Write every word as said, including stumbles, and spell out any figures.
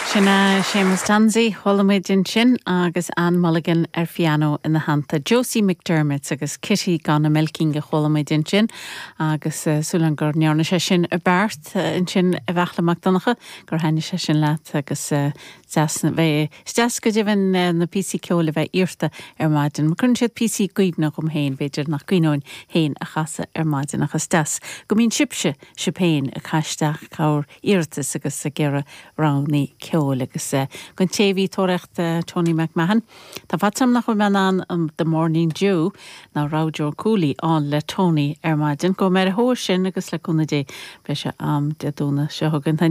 Sin Séamus Tansey chuala muid ansin agus Anne Mulligan ar piano ina theannta. Josie McDermott agus Kitty gan Milking a chuala muid ansin agus uh, súil gur ndearna sé sin i gceart uh, ansin a Bheachla Mac Donncha gur thaitnigh sé sin leat agus uh, bheith deas go deimhin uh, na píosaí ceoil a bheith iarrta ar maidin. Ma chuireann siad píosaí i gcuimhne dhom féin b'fhéidir nach gcuimhneoinn féin a chasadh ar maidin agus deas. Go mbíonn sibhse sibh féin ag cur isteach bhur n-iarratas agus ag iarraidh roghanna ceoil agus uh, gon téhí tórecht uh, Tony McMahon. Tá fad nach bhfuil an um, The Morning Dew ná raibh Joe Cooley an le Tony ar maidin go mé a thó sin agus le cúnamh Dé beidh sé am de dúna seo thugann.